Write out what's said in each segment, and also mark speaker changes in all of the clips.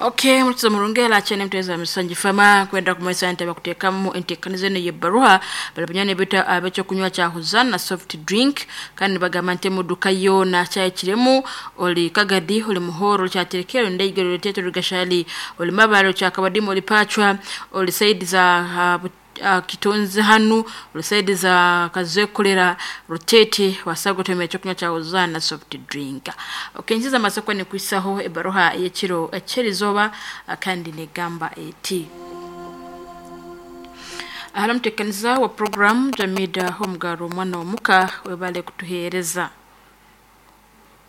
Speaker 1: Okay, mutse murungela chene mteza misanji fama kwenda kumesa ntebe kutekamu entekanize ne yebaruha balabanyane bita abecho kunywa cha huzana soft drink kandi bagamba nte muduka yona kyayikiremu oli kagadi oli muhoro kyaterekero ndayigero teto rugashali oli mabaro kyakabadimu oli pachwa oli saidi za kitonzi hanu oli saidi za kazekolera rutete wasago temeye kyokunywa cha huzana soft drink. Okay, nziza masoko ni kwisaho ebaruha yekiro ekyerizoba kandi negamba eti ahara mutekaniza wa program Jamida Homgaro mwana wa muka webale kutuhereza.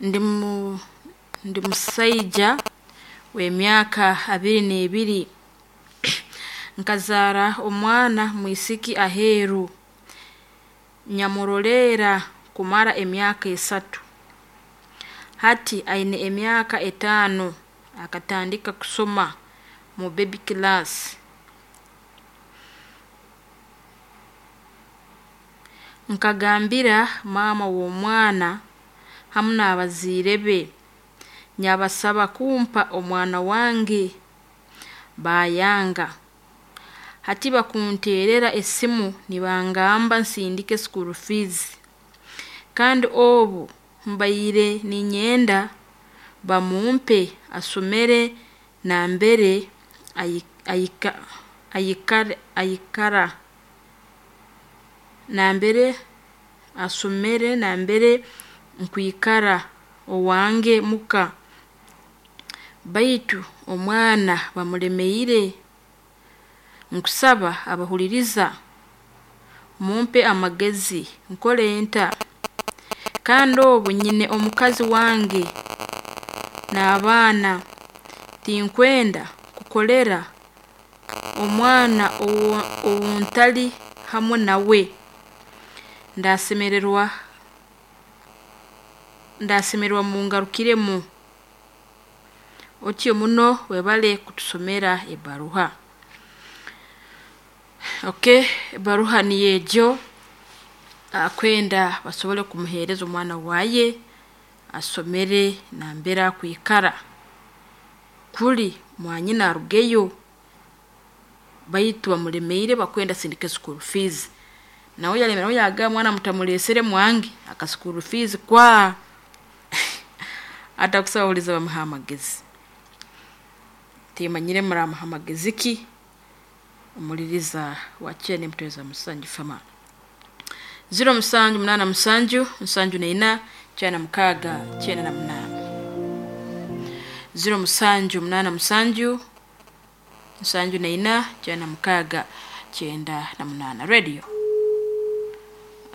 Speaker 1: Ndi musaija w'emyaka 22 nkazara omwana mwisiki aheru nyamurolera kumara emyaka 3 hati aine emyaka 5 akatandika kusoma mu baby class. Nkagambira mama w'omwana hamu n'abaziire be nyabasaba kumpa omwana wange bayanga. Hati bakunterera esimu nibangamba nsindike school fees kandi obu mbaire ninyenda bamumpe asomere nambere ayikara nambere asomere nambere nkwikara owange muka baitu omwana bamulemeire. Nkusaba abahuliriza mumpe amagezi nkole nta kandi obu nyine omukazi wange n'abaana tinkwenda kukolera omwana owuntali hamwe nawe. Ndasemererwa mungarukiremu otyo muno webale kutusomera ebaruha. Okay, ebaruha ni ejo akwenda basobole kumuhereza omwana waye asomere nambera kwikara kuli mwanyina arugeyo baitu bamulemeire bakwenda sindike school fees nawe yalemera yaga mwana mutamulesere mwangi aka school fees kwa atakusawuliza bamuha amagezi timanyire muramuha amagezi ki omuliriza wachene mtweza musanju fama 0 musanju 8 musanju 74 96 98 0 musanju 8 musanju 74 96 98 radio.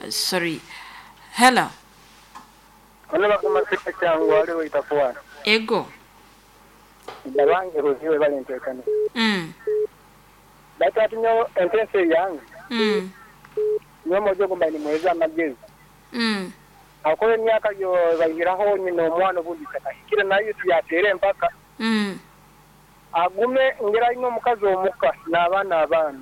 Speaker 1: Sorry. Hello. Ego.
Speaker 2: Ndabange ruziwe balentekane. Batatu nyo entense yange. Nyo mojo gomba ni mweza amagezi. Akole myaka yo bayiraho nyina omwana obundi takahikire nayo tuyatere mpaka. Agume ngera ino omukazi omuka n'abaana abaana.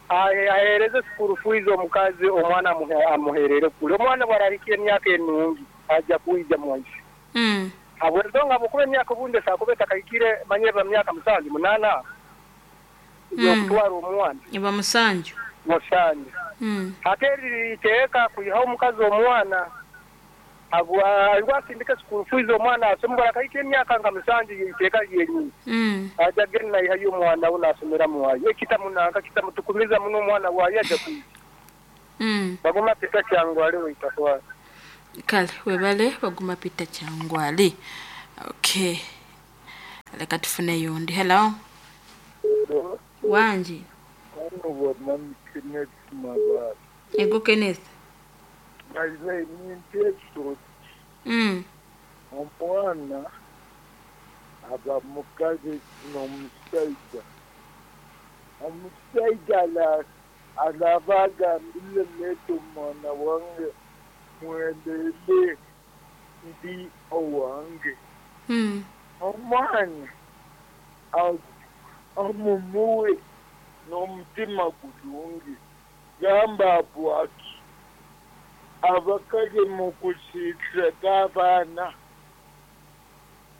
Speaker 2: Ahereze school fees omukazi omwana amuherere kule. Omwana bwararikire emyaka enungi aja kuija mwanshi. Abwezonga bukube emyaka obunde sakube takahikire manyeba myaka 7 8. Yokutwara omwana.
Speaker 1: Iba musanju.
Speaker 2: Musanju. Hateri iteka kuyiha omukazi omwana abwa sindika school fees omwana asomba akahikire emyaka nga musanju iteka yenyini. Aja gena ihayo omwana unasomera muwayo. Ekitamunanka kitamutukumiza muno omwana wayo aja kuyiha. Baguma pita kyangwale oitakwala.
Speaker 1: Kale webale baguma pita kyangwale. Okay. Leka tufune yondi. Hello. Wanji. Ego Kenneth.
Speaker 3: Omwana aba mukazi n'omusajja. Omusajja alaba agambire leeta omwana wange mwendeele ndi owange. Omwana amumuwe n'omutima gulungi gamba bwaki abakazi mu kusiiseka abaana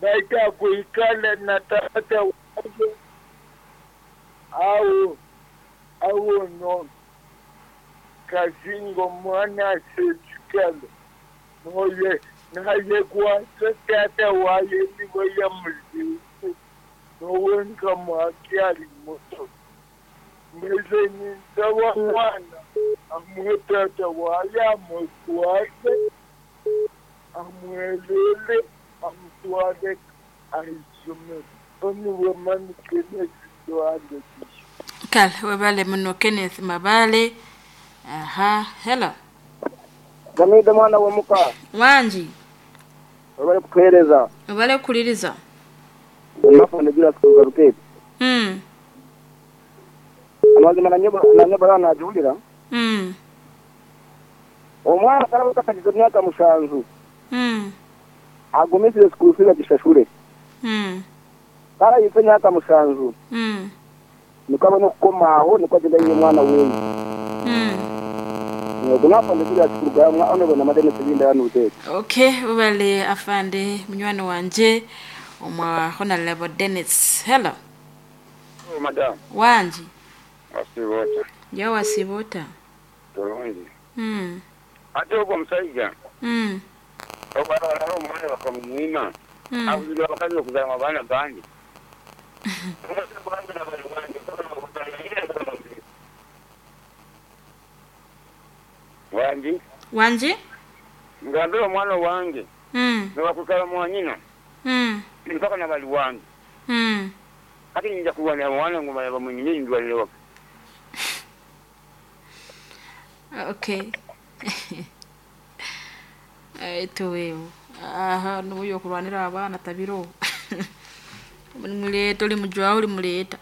Speaker 3: Baitu akuikala na tata wake au au no kazingo mwana asechikala noye naye kwasa tata waye niwe yamuzise nowenka mwakyali muto mbese ninsaba mwana amuhe tata waye amukwase amwelele amutwale aisomero oniwe mani Kenneth Dwale.
Speaker 1: Kale webale muno Kenneth Mabale. Aha, hello.
Speaker 2: Jamida mwana wa muka.
Speaker 1: Wanji.
Speaker 2: Webale kutuhereza.
Speaker 1: Webale kuliriza.
Speaker 2: Nafa nejula kugarukete. Amazima nanyeba najulira. Omwana karabuka kagize myaka 7. Agumisize school fees agishashure. Kara yitse myaka 7. Nikaba no kukomaho niko agenda yiye mwana wewe. Nagumapa ndikira kugamwa ono bona madene tibinda yanute.
Speaker 1: Okay, wale afande munywani wanje omwa Honorable Dennis. Hello.
Speaker 4: Oh, madam.
Speaker 1: Wanji.
Speaker 4: Wasibota.
Speaker 1: Ya wasibota.
Speaker 4: Tolongi. Ate ogwo musajja. Okwala omwana bakamwima. Abuzira bakazi okuzala abaana bangi. Wanji.
Speaker 1: Wanji?
Speaker 4: Ngambira omwana wange. Nibakukala mwanyina. Mpaka nabali wange. Ate nyinza kuwana mwana ngoma bamunyine ndwalire waka.
Speaker 1: Okay. Eto aha nuyo kulwanira abana tabiro. Muleta oli mujwa oli muleta.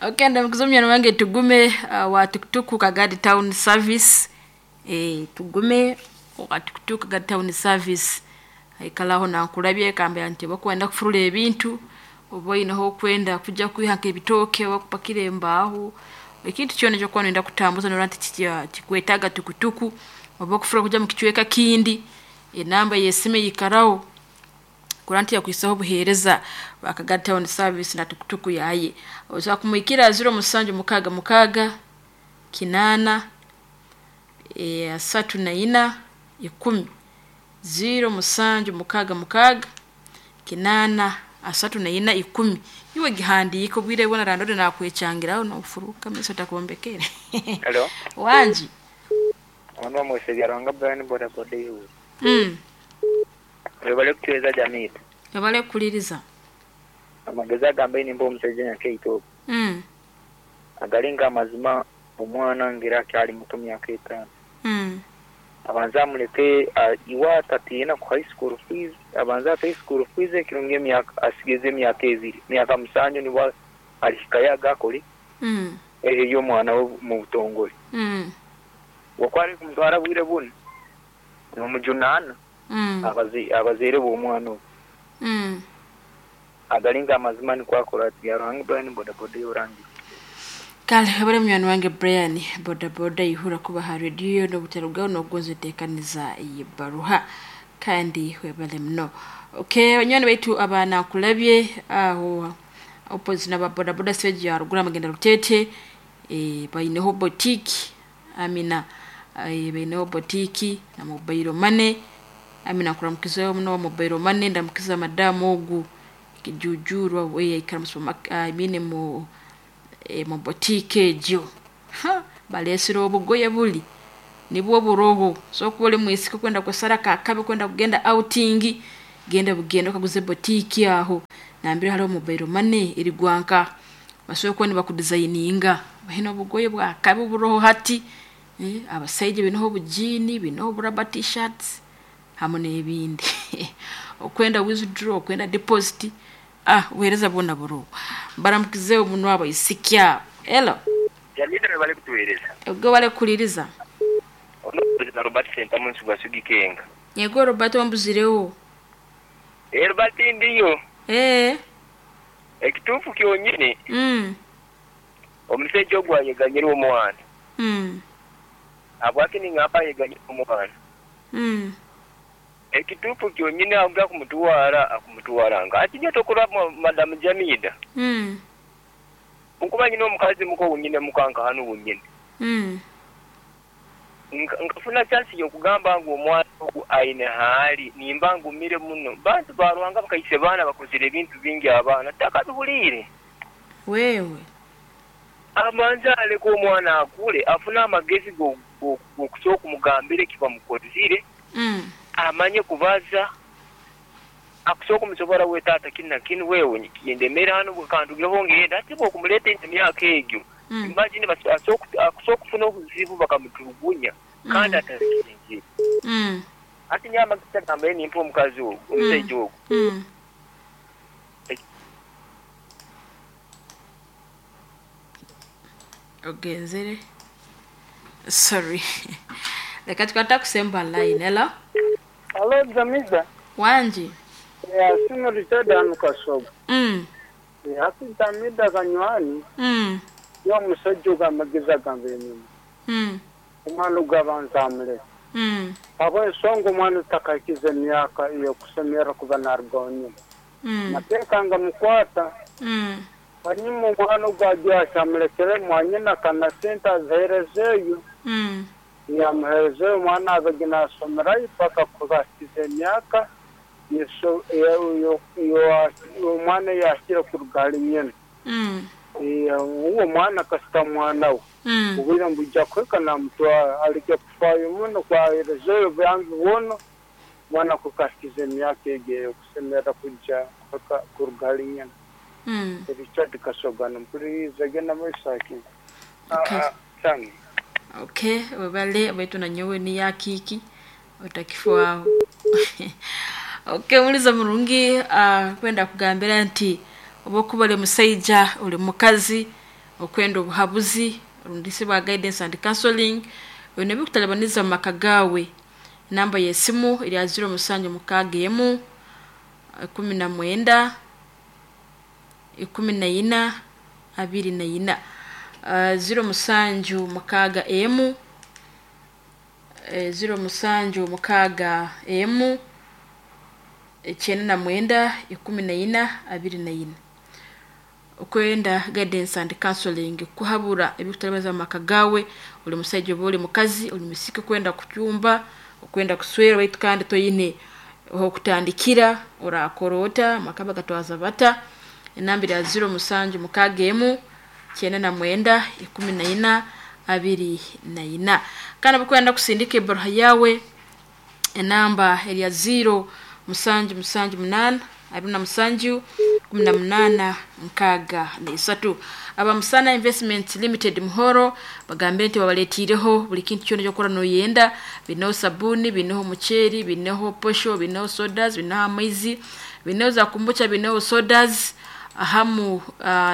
Speaker 1: Okay, ndamukizomya wange tugume wa tuktuku Kagadi Town Service. Tugume wa tuktuku Kagadi Town Service. Aikalaho na nkulabye kambe anti bakwenda kufurula ebintu oboyinaho kwenda kujja kwihanka ebitoke bakupakira embaaho. Ekintu kyona kyo kwenda kutambuza noranti kikwetaga tukutuku oba kufura kujja mu kichweka kindi enamba yesime yikarao kuranti yakwisaho buhereza Kagadi Town Service na tukutuku yaye oza kumwikira 0766 8 34 10 0766 8 34 10 iwe gihandiko bwire bona randode nakwechangiraho no ufuruka meso takuombekere.
Speaker 5: Hello.
Speaker 1: Wanji.
Speaker 5: Ono mwese yaranga Brian boda boda yu. Webale kutuweza jamii.
Speaker 1: Webale kuliriza.
Speaker 5: Amageza gambe nimbo omusajja nyakeito. Agalinga amazima omwana ngira kyali muto myaka 5. Abanza muleke iwa tatiina ku high school fees, abanza high school fees ekirungi emyaka asigeze emyaka 2, myaka 7 niwa alihikayo agakole. Eyo omwana mu butongole. Wakwari kumutwara bwire buno. Nomujunana. Abazeire b'omwana obu. Agalinga amazima nikwakora ati yaruhanga Brian boda boda yorangi.
Speaker 1: Kale habari mnyani wange Brian boda boda ihura kuba ha radio no butarugao no gonze tekaniza ibaruha kandi webale mno. Okay, banywana baitu abana kulabye aho opposite na boda boda stage ya rugura magenda rutete baineho boutique amina baineho boutique na mobile money amina kuramukizayo mno mobile money ndamukiza madamu ogu kijujurwa we ikara amine mu mu boutique ejo ha balesiro obugoye buli nibwo buroho so kubole mwisiko kwenda kusara kakabe kwenda kugenda outing genda bugenda kaguze boutique aho nambira hariho mobile money iri gwanka basoye ko nibakudesigninga bahino bugoye bwa kabe buroho hati abasaije binoho bujini binoho buraba t-shirts hamwe n'ebindi okwenda withdraw okwenda deposit uhereza bona buru baramukize omuntu wabo isikya. Hello.
Speaker 5: Jamida bale kutuhereza.
Speaker 1: Ubwo bale kuliriza.
Speaker 5: Ono President Robert Senta munsi gwa Sugikenga.
Speaker 1: Yego Robert wambuzirewo.
Speaker 5: Robert ndiyo. Ekitufu kyonyine. Omusajja ogwo ayeganyira omwana. Abwaki ningamba ayeganyira omwana. Ekituufu kyonyini aja kumutwara akumutwara nga ati nyo tokora Madamu Jamida. Nkuba nyina omukazi muko wenyine muka nka hanu wenyine. Nkafuna chance y'okugamba ngu omwana ogu aine haali nimba ngumire muno. Bantu ba Ruhanga bakaise baana bakozire ebintu bingi abaana takabihuliire.
Speaker 1: Wewe.
Speaker 5: Amanze aleke omwana akule afune amagezi g'okusobola okumugambira eki bamukozire, amanye kubaza, akusobola kumusobora we taata kinu na kinu wewe kindemere hanu kandugireho ngende. Hati bw'okumuleeta emyaka egyo, imagine akusobola okufuna obuzibu bakamuturugunya kandi atabikinzire. Hati nyowe amagezi agambaire nimpa omukazi ogu, omusaija ogu.
Speaker 1: Ogenzere. Sorry. Leka tukwata kusemba line. Hello?
Speaker 3: Hello, Jamida.
Speaker 1: Wanji.
Speaker 3: Simu Richard hanu Kasoga. Hati Jamida kanywani. Yo omusajja ogu amagezi agamba enyuma. Omwana ogu abanza amuleka. Habw'ensonga omwana otakahikize emyaka ey'okusemera kuba narugaho nyuma. Mateeka nga mukwata. Hanyuma omwana ogu ajya amulekere mwanyina kana sente aziheerezeeyo. Yamuheerezeeyo omwana abege naasomerayo paka kubahikiza emyaka omwana yahikire kuruga hali nyina. Uwo omwana kasita mwana we. Obwire mbujja kuhika namutwara aleke kufaayo muno kwaheerezeeyo obuyambi bwona omwana kukahikiza emyaka egyo ey'okusemera kujja kuruga hali nyina. Richard Kasoga mpuliriza genda mwisaki.
Speaker 1: Okay. Okay, webale wetu na nyowe ni ya kiki otakifwaho. Okay, muliza murungi kwenda kugambira nti obokuba uli musaija uli mukazi okwenda obuhabuzi rundisi bwa guidance and counseling wene bikutalabaniza mu maka gawe. Namba y'esimu eri 0761 19 14 24 0761 0761 99 14 24. Okwenda guidance and counseling kuhabura ebikutalabaniza mu maka gawe. Uli musaija oba uli mukazi uli musike kwenda kucyumba okwenda kuswera baitu kandi toyine okutandikira orakorota makaba gatwaza bata. Enamba ya 0761 99 14 24. Kana bukwenda kusindika ebaruha yawe enamba ya 0778 27 18 63. Aba Musana Investment Limited Muhoro bagambire nti babaletireho buli kintu kyona kyokora noyenda. Binoho sabuni, binoho mucheri, binoho posho, binoho sodas, binoho amaizi, binoho za kombucha, binoho sodas ahamu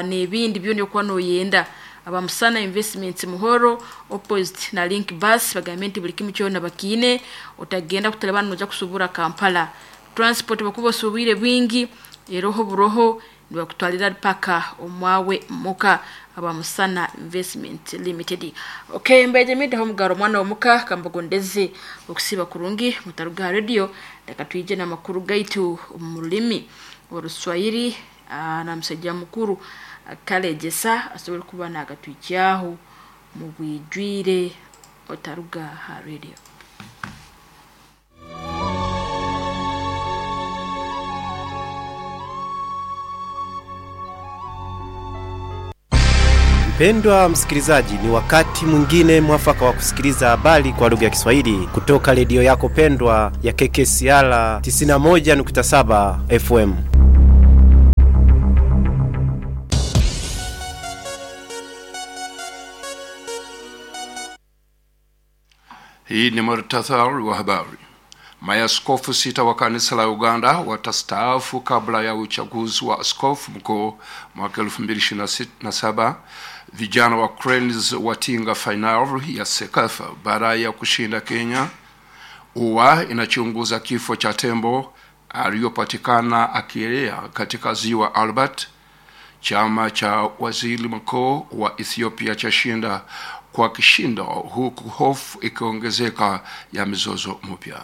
Speaker 1: n'ebindi byona okuba noyenda. Aba Musana Investment Muhoro opposite na Link Bus bagambire nti buli kimu kyona bakiine. Otagenda kutalabana noja kusubura Kampala. Transport bakuba osubire bwingi eroho buroho nibakutwalira paka omwawe muka. Aba Musana Investment Limited. Okay, mbeje mida homugaro mwana omuka kambagondeze okusiba kurungi mutaruga radio. Leka tuije na makuru gaitu mu rulimi Oruswahili na musajja mukuru Kalejesa asobole kuba nagatwijyaho mu bwijwire. Otaruga ha radio.
Speaker 6: Mpendwa msikilizaji, ni wakati mwingine mwafaka wa kusikiliza habari kwa lugha ya Kiswahili kutoka redio yako pendwa ya KKCR 91.7 FM.
Speaker 7: Hii ni muhtasari wa habari. Maaskofu 6 wa kanisa la Uganda watastaafu kabla ya uchaguzi wa askofu mkuu mwaka 2027. Vijana wa Cranes watinga finali ya CECAFA baada ya kushinda Kenya. UWA inachunguza kifo cha tembo aliyopatikana akielea katika ziwa Albert. Chama cha waziri mkuu wa Ethiopia chashinda kwa kishindo, huku hofu ikiongezeka ya mizozo mpya.